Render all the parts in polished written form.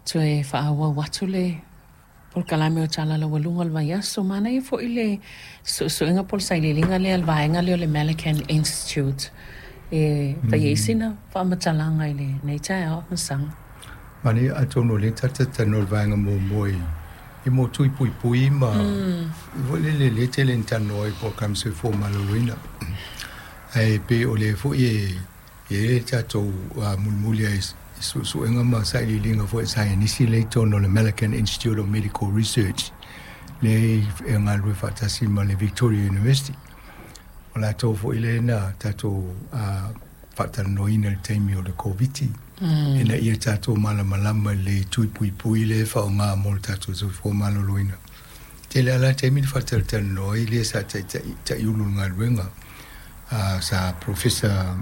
Toe faaauau atu le polokalame o Tala Laualuga o le vaiaso. Manaia foi le suesuega po o le sailiiliga lea a le vaega lea o le Malakand Institute e fai ai sina faamatalaga i lenei taeao Masaga. Manaia, atonu o lea tatou te talanoa i le vaega muamua i mo tui puipui ma foi lele lea tele ina talanoa ai i polokalame soifua maloloina. Ae pei o lea foi e i ai le tatou mulimuli ai i suesuega ma sailiiliga foi a saienisi lea i totonu o le Malakand Institute of Medical Research lea e galulue faatasi ma le Victoria University. O latou foi lea na tatou faatalanoaina i le taimi o le Koviti ina ia tatou malamalama i le tui puipui lea e faaaoga mo le tatou soifua maloloina. Tele lava la taimi na faatalatalanoa ai lea sa taiulu i le galuega sa Professor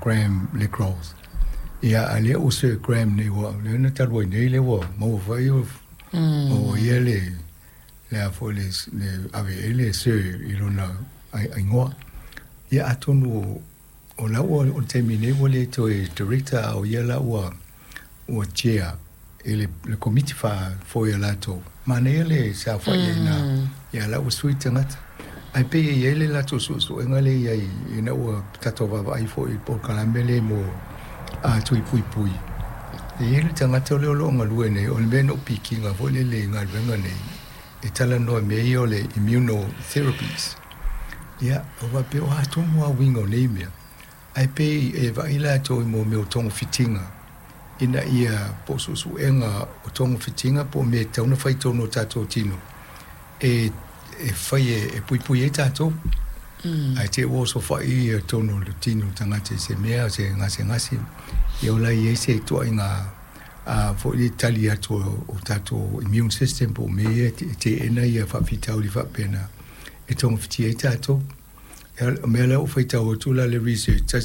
Graham Le Gros. Ia, a lea ua Sir Graham nei, ua lea na talu ai nei lea ua maua foi maua ia le a foi le ave i ai le Sir i lona igoa. Ia, atonu o la ua o le taimi nei ua le toe director, a o ia la ua chair i le komiti faafoe a latou. Manaia le saofai ai ina, ia la ua sui tagata. Ae pei e i ai le latou suesuega lea i ai ina ua tatou vaavaai foi i le polokalame lea mo tui puipui. E i ai le tagata lea o lo o galue nei, o le mea na ou pikiina foi lele i galuega nei, e talanoa i mea ia o le immunotherapies. Ia, ua faapea o a tonu lava uiga o nei mea, ae pei e vaai latou i mea o togafitiga ina ia po o suesuega o togafitiga po o mea e tatau ona fai i totonu o tatou tino e fai e puipui ai tatou. Ae te i ua osofai totonu o le tino o le tagata i se mea, se gasegase, ia o la e i ai se ituaiga foi le tali atu o tatou immune system po o mea ia e teena ia faafitauli faapena e togafitia ai tatou. O mea la ua faitau atu la le research tasi.